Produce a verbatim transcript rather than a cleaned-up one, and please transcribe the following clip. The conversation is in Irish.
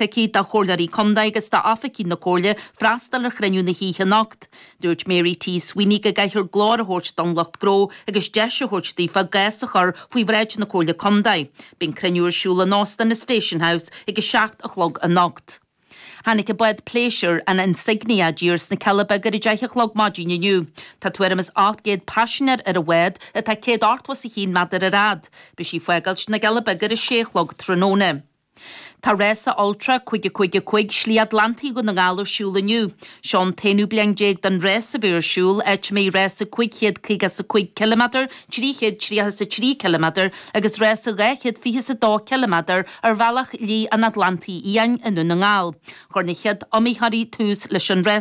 aici do chomhairleoirí contae agus d'oifigigh na comhairle freastal ar chruinniú na hoíche anocht. Dúirt Mary T. Sweeney go gcaithfear glór a thabhairt don lucht gnó agus deis a thabhairt daofa a gcás a chur faoi bhráid na Comhairle Contae. Beidh an cruinniú ar siúl in Óstán na Station House ag a seacht a chlog anocht. Tháinig an bád pléisiúir an Insignia i dtír sna Cealla Beaga ar a deich a chlog maidin inniu. Tá tuairim is ocht gcéad paisinéir ar an bhád atá céad ochtó is a haon méadar ar fhad. Beidh sí ag fágáilt na gCealla Beaga ar a sé a chlog tráthnóna. Tá rása Ultra cúig a cúig a cúig Slí Atlantaigh Dhún na nGall ar siúl inniu. Seo an t-aonú bliain déag den rás a bheith ar siúl, áit a mbeidh rása cúig chéad caoga is a cúig ciliméadar, trí chéad tríocha is a trí ciliméadar agus rása dhá chéad fiche is a dó ciliméadar ar bhealach Shlí an Atlantaigh Fhiáin i nDún na nGall. Chuir na chéad iomaitheoirí tús leis an rás